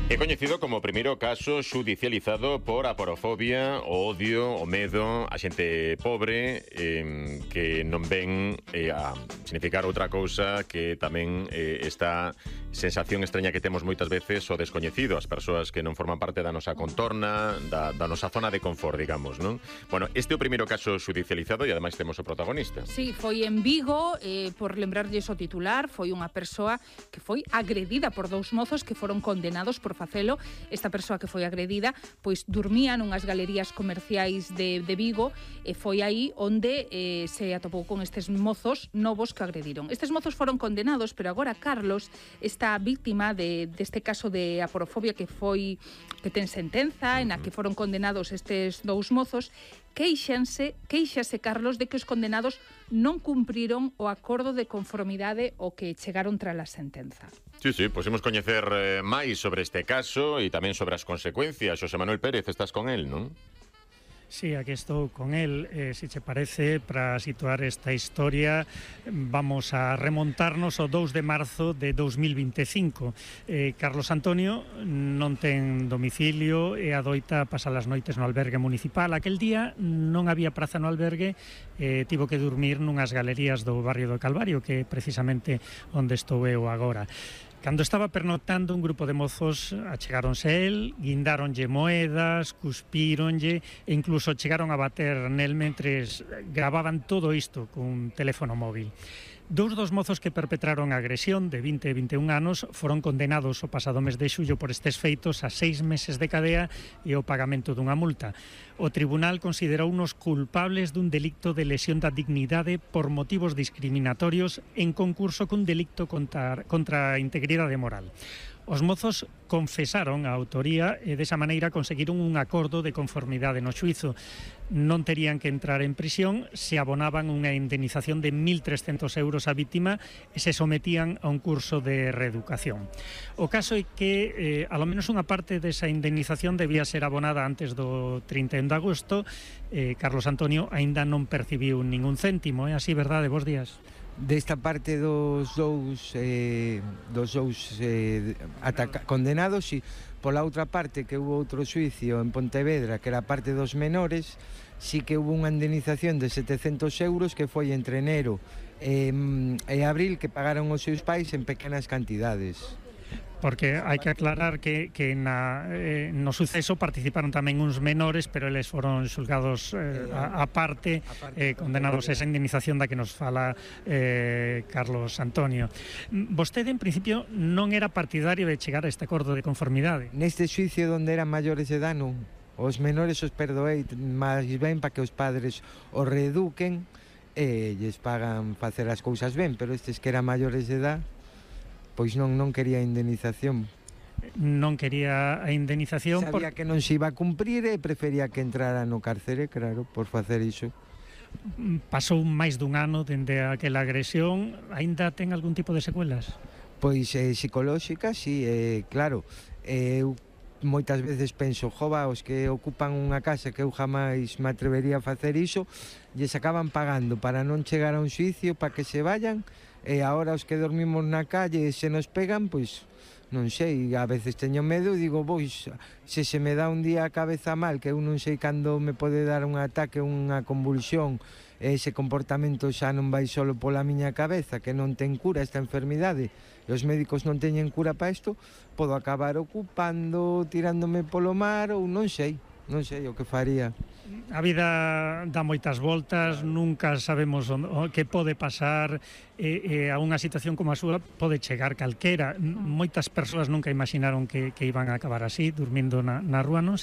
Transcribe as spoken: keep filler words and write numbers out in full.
É coñecido como o primeiro caso xudicializado por aporofobia, o odio, o medo a xente pobre eh, que non ven eh, a significar outra cousa que tamén eh, esta sensación extraña que temos moitas veces o descoñecido, as persoas que non forman parte da nosa contorna, da, da nosa zona de confort, digamos, non? Bueno, este é o primeiro caso xudicializado e ademais temos o protagonista. Sí, foi en Vigo, eh, por lembrarlles o titular, foi unha persoa que foi agredida por dous mozos que foron condenados por facelo. Esta persoa que foi agredida pois dormía nunhas galerías comerciais de, de Vigo e foi aí onde eh, se atopou con estes mozos novos que agrediron. Estes mozos foron condenados, pero agora Carlos, esta víctima de, deste caso de aporofobia que foi que ten sentenza, en a que foron condenados estes dous mozos, queixanse, queixase Carlos de que os condenados non cumpriron o acordo de conformidade o que chegaron tras a sentenza. Sí, sí, pois imos coñecer eh, máis sobre este caso e tamén sobre as consecuencias. Xosé Manuel Pérez, estás con el, non? Sí, aquí estou con él. Eh, si che parece, para situar esta historia, vamos a remontarnos ao dous de marzo de dous mil vinte e cinco. Eh, Carlos Antonio non ten domicilio e adoita pasar as noites no albergue municipal. Aquel día non había praza no albergue, eh, tivo que dormir nunhas galerías do barrio do Calvario, que é precisamente onde estou eu agora. Cando estaba pernoctando, un grupo de mozos achegáronse el, guindáronlle moedas, cuspíronlle e incluso chegaron a bater nel mentres gravaban todo isto cun teléfono móvil. Dous dos mozos que perpetraron a agresión de vinte e vinte e un anos foron condenados o pasado mes de xullo por estes feitos a seis meses de cadea e o pagamento dunha multa. O tribunal considerounos culpables dun delicto de lesión da dignidade por motivos discriminatorios en concurso cun delicto contra, contra a integridade moral. Os mozos confesaron a autoría e desa maneira conseguiron un acordo de conformidade no xuízo. Non terían que entrar en prisión se abonaban unha indemnización de mil trescentos euros á vítima e se sometían a un curso de reeducación. O caso é que, eh, alo menos unha parte desa indemnización debía ser abonada antes do trinta e un de agosto. Eh, Carlos Antonio aínda non percibiu ningún céntimo, é así, verdade? Bos días. Desta parte dos dous eh, dos dous eh, ataca- condenados, e pola outra parte que hubo outro xuicio en Pontevedra, que era a parte dos menores, sí que hubo unha indemnización de setecentos euros que foi entre enero e, e abril, que pagaron os seus pais en pequenas cantidades. Porque hai que aclarar que, que na, eh, no suceso participaron tamén uns menores, pero eles foron xulgados eh, a, a parte, eh, condenados a esa indemnización da que nos fala eh, Carlos Antonio. Vostede, en principio, non era partidario de chegar a este acordo de conformidade. Neste xuicio onde eran maiores de edad, non. Os menores os perdoei máis ben para que os padres os reeduquen e lles pagan facer as cousas ben, pero estes que eran maiores de edad, pois non non quería indemnización. Non quería a indemnización. Sabía por... que non se iba a cumprir e prefería que entrara no cárcere, claro, por facer iso. Pasou máis dun ano dende aquela agresión, aínda ten algún tipo de secuelas? Pois eh, psicolóxicas, sí, eh, claro. Eu moitas veces penso, jova, os que ocupan unha casa que eu jamais me atrevería a facer iso, lles acaban pagando para non chegar a un xuicio, para que se vayan, e agora os que dormimos na calle se nos pegan, pois non sei, a veces teño medo e digo, pois, se se me dá un día a cabeza mal, que eu non sei cando me pode dar un ataque, unha convulsión, ese comportamento xa non vai solo pola miña cabeza, que non ten cura esta enfermidade, e os médicos non teñen cura para isto, podo acabar ocupando, tirándome polo mar, ou non sei, non sei o que faría. A vida dá moitas voltas, nunca sabemos o que pode pasar, e, e a unha situación como a súa pode chegar calquera. Moitas persoas nunca imaginaron que, que iban a acabar así, dormindo na, na rúa, non?